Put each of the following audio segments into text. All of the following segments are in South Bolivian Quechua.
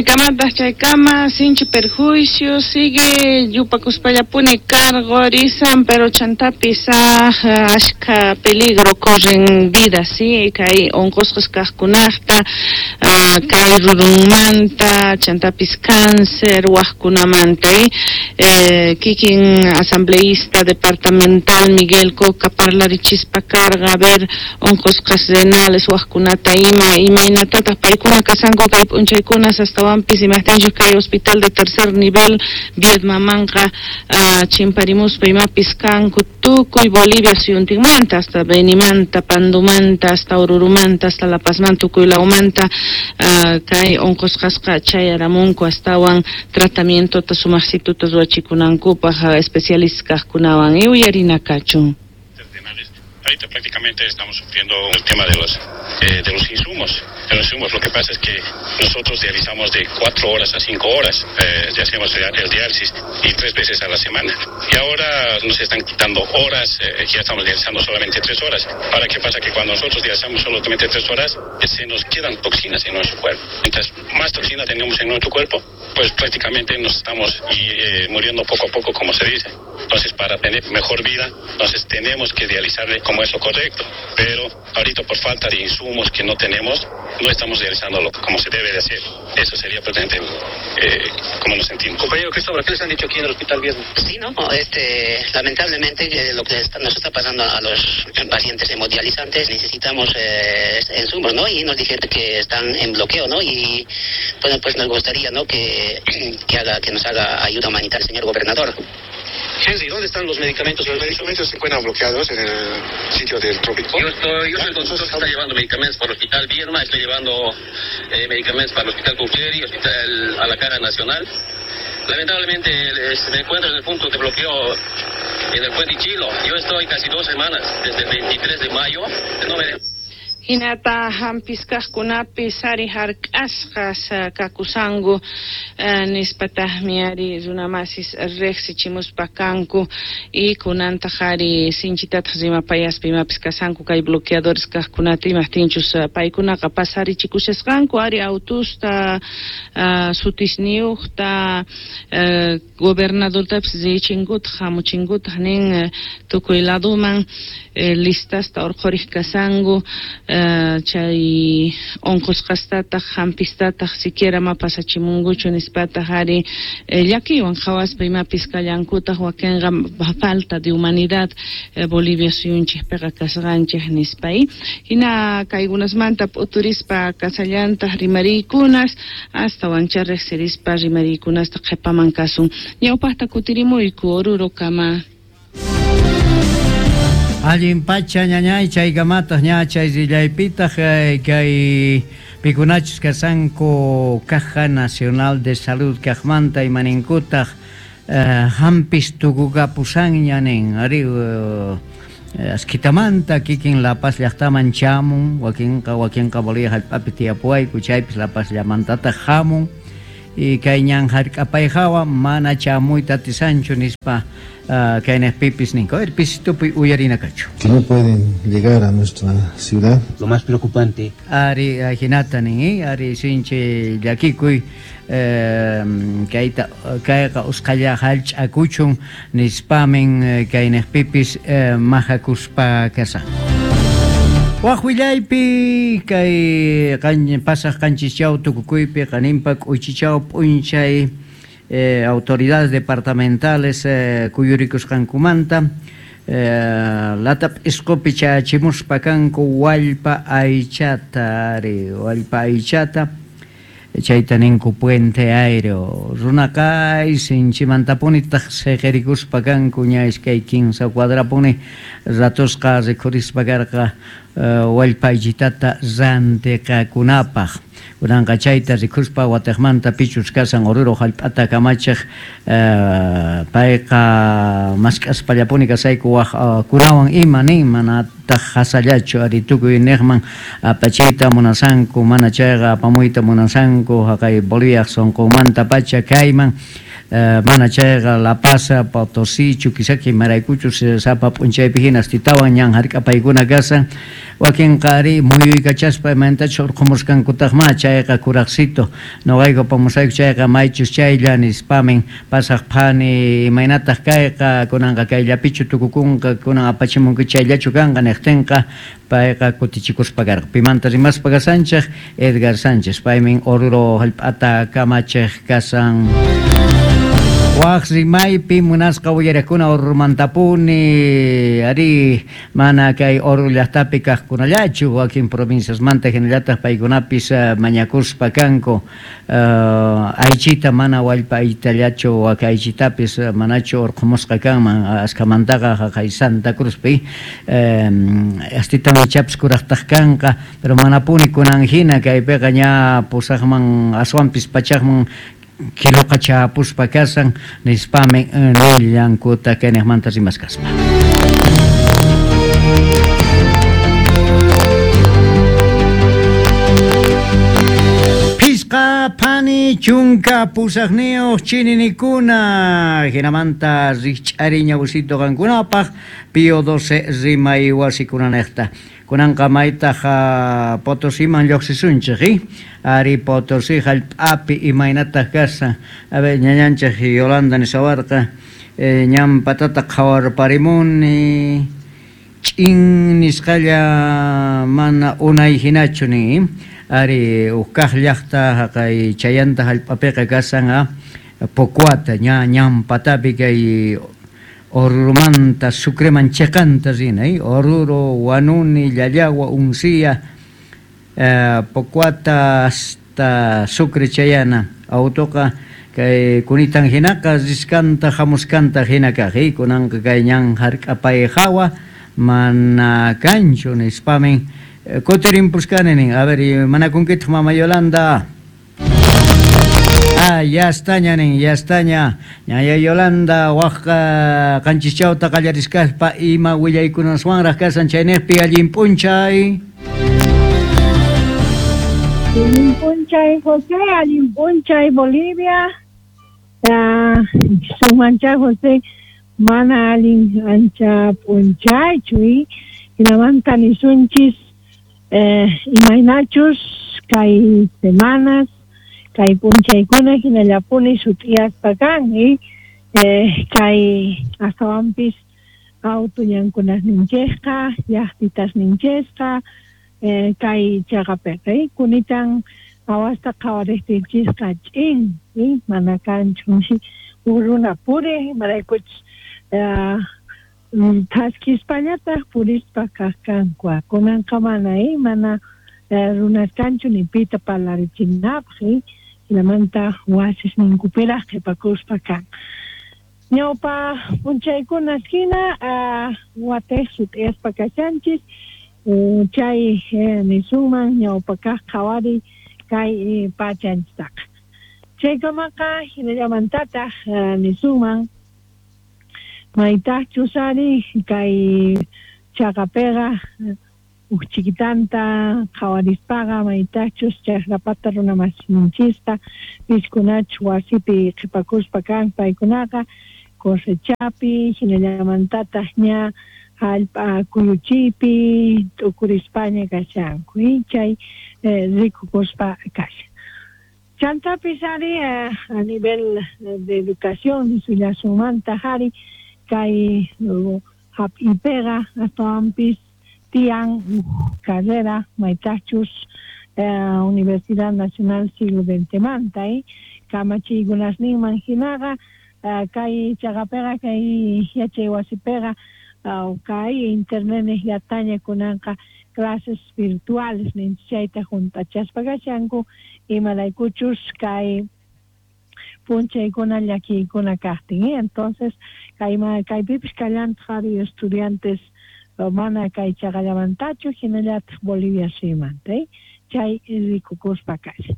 Chaykamataq chaykama sinchi perjuicio sigue yupakuspallapuni cargorisan, pero chantapis ashkha peligro corren vida, sí, kay onqosqas kaqkunaqta, kay rurunmanta, chantapis cáncer wajkunamanta, kikin asambleísta departamental Miguel Coca parlarichispa karqa, a ver, onqosqas renales wajkunata ima, imaynatataq paykuna kasanku kay p'unchaykunas astawanpis imajtinchus kay hospital de tercer nivel Viedmamanqa chimparimuspa imapis kanku tukuy Bolivia suyuntinmanta hasta Benimanta, Pandumanta, hasta Orurumanta, hasta La Pazmanta, tukuy lawmanta kay onqosqasqa chayaramunku astawan tratamientota sumaqsituta ruwachikunankupaq especialistas kaqkunawan y uyarina kachun. Ahorita prácticamente estamos sufriendo el tema de los insumos. De los insumos. Lo que pasa es que nosotros dializamos de 4 horas a 5 horas, ya hacemos el diálisis y 3 veces a la semana. Y ahora nos están quitando horas, ya estamos dializando solamente 3 horas. Ahora, ¿qué pasa? Que cuando nosotros dializamos solamente 3 horas, se nos quedan toxinas en nuestro cuerpo. Mientras más toxinas tenemos en nuestro cuerpo, pues prácticamente nos estamos muriendo poco a poco, como se dice. Entonces, para tener mejor vida, entonces tenemos que dializarle como es lo correcto. Pero ahorita por falta de insumos que no tenemos, no estamos realizándolo como se debe de hacer. Eso sería prácticamente como nos sentimos. Compañero Cristóbal, ¿qué les han dicho aquí en el Hospital Viedma? Sí, no, lamentablemente lo que nos está pasando a los pacientes hemodializantes, necesitamos insumos, ¿no? Y nos dijeron que están en bloqueo, ¿no? Y bueno, pues nos gustaría, ¿no?, que nos haga ayuda humanitaria el señor gobernador. Henry, ¿dónde están los medicamentos? Los medicamentos se encuentran bloqueados en el sitio del trópico. Yo soy el consultor que está llevando medicamentos para el Hospital Viedma, estoy llevando medicamentos para el Hospital Cucleri, Hospital a la Cara Nacional. Lamentablemente me encuentro en el punto de bloqueo en el Puente Chilo. Yo estoy casi 2 semanas, desde el 23 de mayo. No me... Hinata hampis kaqkunapis ari hark'asqas kakusanku nispataqmi ari runamasis riqsichimuspa kanku y kunantaq ari sinchitataq rimapayaspa imapis kasanku kay bloqueadores kaqkunata imaqtinchus paykunaqa pasarichikushasqanku ari autusta sutisniyuqta gobernadortapis richinkutaq hamuchinkutaq nin tukuy laduman listasta urqhuriq kasanku chay onqosqastataq hampistataq siquiera ma pasachimunkuchu nispataq ari llakiywan qhawaspa imapis kallankutaq wakinqa falta de humanidad Bolivia suyunchikpiqa kasqanchik nispa. Hina kaykunasmanta p'uturispa kasallantaq rimariykunas astawancha riqsirispa rimariykunasta qhipaman kasun. Ñawpaqta kutirimuyku Orurokama. Allin pacha ñañay chaykamataq ña chay rillaypitaq kay pikunachus kasanku Caja Nacional de Salud kaqmanta imaninkutaq hampis tukukapusanña nin ari askitamanta kikin La Paz llaqtaman chamun wakinqa Bolivia hallp'api tiyapuwayku chaypis La Paz llamantataq hamun y kay ñan hark'apayhawa mana chamuyta atisanchu nispa kaynaqpipis ninku. A ver, pisitupi uyarina kachu. Que no pueden llegar a nuestra ciudad. Lo más preocupante. Ari ajinata nin, ari sinchi llakikuy kayta kayqa usqhalla hallch'akuchun nispamin kaynaqpipis majakuspa kasan. Waqwillaypi kay pasaq qanchischaw tukukuypi qaninpa k'uychichaw p'unchay autoridades departamentales kuyurikusqankumanta latap isqupi chayachimuspa kanku wallpa aychata ari wallpa aychata chayta ninku puente aéreo runaqa sinchimantapunitaq siqirikuspa kanku ña iskay 15 cuadrapuni ratosqa rikhurispa karqa wallpa aychitata rantiqakunapaq. Kunanqa chayta rikuspa watiqmanta pichus kasan Oruro hallp'ata kamachiq payqa mask'aspallapuni kasayku waq kunawan ima nin manataq hasallachu ari tukuy niqman apachiyta munasanku mana chayqa apamuyta munasanku haqay Boliviaq sunqunmanta pacha kayman Mana chayqa La Paz, Potosí, Chuquisaca imaraykuchus sapa p'unchaypi hina astitawan ñan hark'apaykuna kashan. Wakinqa ari muyuykachaspa imaynatachus urqhumusqankutaqmá, chayqa kuraqcito noqayku apamusayku chayqa maychus chaylla nispamin pasaq phani imaynataq kayqa kunanqa kayllapichu tukukunqa kunan apachimunki chayllachu kanqa niqtinqa payqa kutichikuspa karqa. Pimanta rimaspa kashanchej? Edgar Sánchez, paymin Oruro hallp'ata kamachiq kashan. Waj rimaypi munasqa uyariqkuna Oruromantapuni, arí, mana kay Oruro llaqtapi kaqkunallachu, wakin provinciasmanta hinallataq paykunapis mañakuspa kanku. Aychita mana wallpa aychitallachu, wak aychitapis manachu urqhumusqa kanman, askhamantaqa jaqay Santa Cruzpi astitan ichapis kuraqtaq kanqa, pero manapuni kunan hina kaypiqa ña pusaqman aswanpis pachaqman kiloqa chapuspa kashan nispami nillankuta kayniqmanta rimaskaspa. Phisqa phani chunka pusaqniyuq chininikuna hinamanta rikch'ari ñawsito qankunapaq Pío XII rimay wasikunanejta. Kunanqa maytaq Potosiman lluqsisunchik, ari Potosí hallp'api imaynataq kashan. A ver, ñañanchik Yolanda nishawarqa, ñan patata qhawarparimuni, ch'in nisqalla mana unay hinachu nin, ari huk kaq llaqta haqay chayanta hallp'apiqa kashan Pocoata, ña ñan patapi kay Oruromanta Sucreman cheqanta rina, Oruro, Huanuni, Llallagua, Uncía, Pocoata hasta Sucre chayana. Autoqa kay kunitan hinaqa riskanta hamuskanta hina kaq, kunanqa kay ñan hark'apay hawa mana kanchu nispamin kutirimpuskani nin. A ver, manakunkitaq mama Yolanda? Ah, ya estaña nin, ya estaña. Ñaya Yolanda wajqa qanchischawta qallariskaspa ima willaykunaswanraq kasan chayniqpi allin p'unchay. Allin p'unchay José, allin p'unchay Bolivia. Sumancha José, mana allin ancha p'unchaychu, hinamanta nisunchis imaynachus kay semanas, kay p'unchaykuna hinallapuni sut'iyaspa kan, kay astawanpis auto ñankunasninchikqa, llaqtitasninchikqa, kay chaqapiqa, kunitan awasta qhawariqtinchisqa ch'in, mana kanchu huk runa puriq, imaraykuchus thaskispañataq purispa kaq kanku, kunanqa mana, mana runas kanchu ni pita parlarichinapaq, hinamanta wasisninkupiraq qhipakuspa kan. Ñawpa p'unchaykunas hina watej sut'iyaspa kashanchis, chay nisunman ñawpa kaq qhawariy kay pachanchistaqa. Chaykamaqa hinallamantataq nisunman maytaqchus ari kay chaqapiqa huk chiquitanta qhawarispaqa maytaqchus chaqrapata runamasinchista piskunachus wasipi qhipakuspa kan paykunaqa cosechapi hinallamantataq ña hallp'a kuyuchiypi t'ukurispaña kashanku, chay rikukuspa kashan. Chantapis ari a nivel de educación nisullasunmantaq ari kay hap'ipiqa astawanpis tiyan carrera maytaqchus Universidad Nacional Siglo XX manta, kamachiykunasninman hinaqa kay chaqapiqa kay yachay wasipiqa kay internet niqllataña kunanqa clases virtuales ninchik chayta hunt'achaspa kashanku imaraykuchus kay p'unchaykuna llakiykuna kaqtin, entonces kaypipis kallantaq ari estudiantes mana kay chaqallamantachu hinallataq Bolivia suymanta, chay rikukuspa kashan.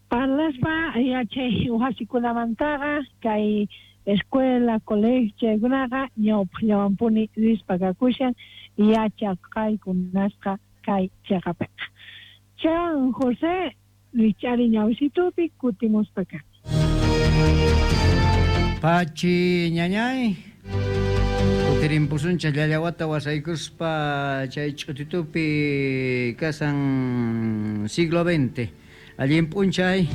Parlaspa yachay wasikunamantaqa kay escuela, colegio chaykunaqa ñawpaqllawanpuni rispa kakushan yachaqaykunasqa kay chaqapiqa. Chan José rich'ari ñawsitupi kutimuspa kan. Pachi ñañay. Kutirimpusunchej llallawata wasaykuspa chay ch'utitupi kasan siglo XX. Allin p'unchay.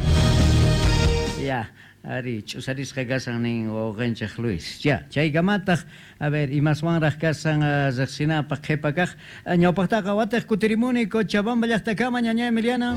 Ya, ari, ch'usarisqa kasan nin wawqenchej Luis. Ya, chaykamataj, a ver, imaswanraj kasan rejsinapaj qhepa kaj. Ñawpajtaqa watej kutirimuni Cochabamba llajtakama, ñañay Emiliana.